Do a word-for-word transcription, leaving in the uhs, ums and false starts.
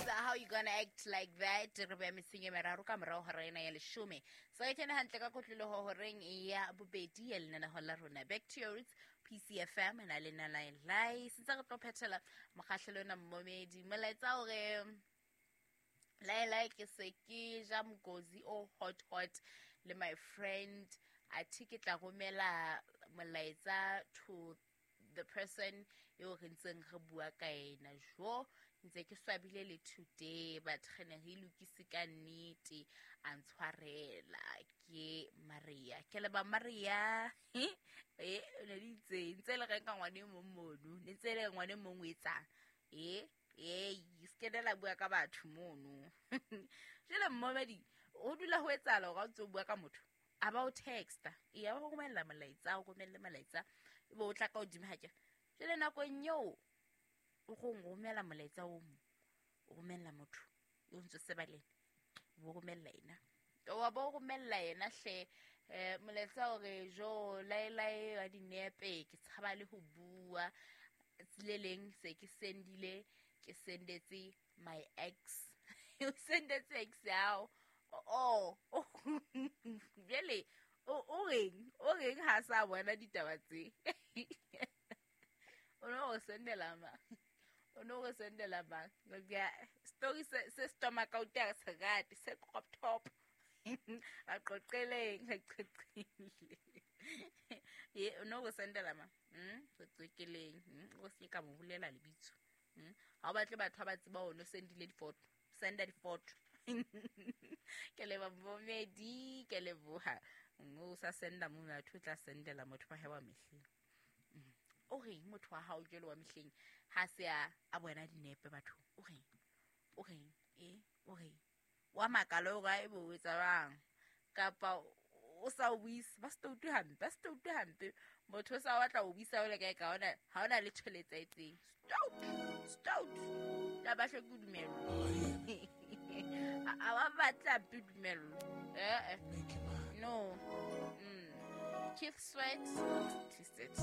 How you gonna act like that? Re beya mesing e meraro ka morao hora ena ya leshome. So e kene hantle ka kotloloho horeng ya bobedi ya lenaneho la rona. Back to your roots, P C F M, na le na lai lai. Sentse re tlo phethela mokgahlelo ona mmomedi. Molaetsa hore lai lai ke se ke ja mokozi o hot hot le my friend. Athe ke tla romela molaetsa to the person eo re ntseng re bua ka ena. Jo, ntse ke swabile le today, but re ne re lokise ka nnete, a ntshwarela ke Maria. Ke leba Maria. Eh, ne le itse, ntse le reng ka ngwane e mong mono, ne ntse le ngwane e mong o etsang. Eh, eh, se ke la bua ka batho mono. Jwale mmomedi, o dula ho etsahala hore ha o ntse o bua ka motho, a ba o texta, e ya ba o romella molaetsa, o romelle molaetsa, e be o tla ka hodimo ha ke. Jwale nakong eo o go romela molaetsa o mong, o romella motho o ntse seba le ena, o romella ena. Wa ba o romella yena hle, eh, molaetsa o re, jo, lae lae wa dinepe, ke tshaba le ho bua. Tsile leng se ke sendile, ke sendetse my ex. O sendetse ex ya hao. Oh, oh. Jwale, o, o reng? O reng ha sa bona ditaba tse? O no o sendela ma? O no o sendela ma? Ngoba story se, se stomach out ya se rate, se crop top. A qoqeleng, a qoqele. Ye, o no o sendela ma? Hmm, qoqeleng. Hmm, o se ka mo bolela lebitso. Hmm, ha o batle batho ba tseba o no sendile difoto. Senda difoto. Ke leba bomedi, ke leboha. O sa senda mo batho o tla sendela motho wa hae wa mehleng. O reng motho wa hao jwalo wa mehleng ha se a, a bona dinepe batho? O reng? O reng? Eh, o reng? Wa makala o re, e bo o etsa jwang? Kapa o sa o buise, ba se utlwe hampe, ba se utlwe hampe. Motho o sa batla ho buisa o le kae ka ona, ha ona letho le etsahetseng. Stout, stout. La ba hloke ho dumellwa. A, a ba batla hampe dumellwa. Eh, eh. No. Mm. Keith Sweat, Twisted.